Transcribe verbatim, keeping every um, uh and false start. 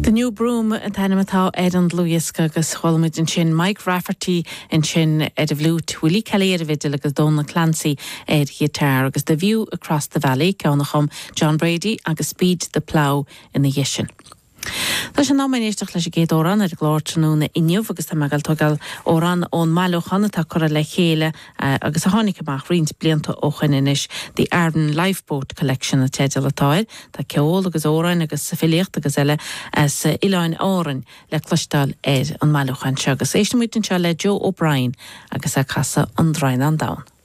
The New Broom an t-ainm atá ar an dlúthdhiosca agus chuala muid ansin Mike Rafferty ansin ar an bhfliúit, Willie Kelly ar an bhfidil agus Donal Clancy ar ghiotár agus The View Across the Valley ceann a chum John Brady agus Speed the Plough ina dhiaidh sin. Tá sé in am éisteacht leis an gcéad amhrán ar an gclár tráthnóna inniu agus tá mé ag tógáil amhrán ón mbailiúchán atá curtha le chéile agus a tháinig amach roinnt blianta ó shin anois The Aran Lifeboat Collection an teideal atá air, Tá ceol agus amhráin agus filíocht agus eile as Oileáin Árann le cloisteáil ar an mbailiúchán seo agus éistfimid anseo le Joe O'Brien agus ag casadh an Draighneán Donn.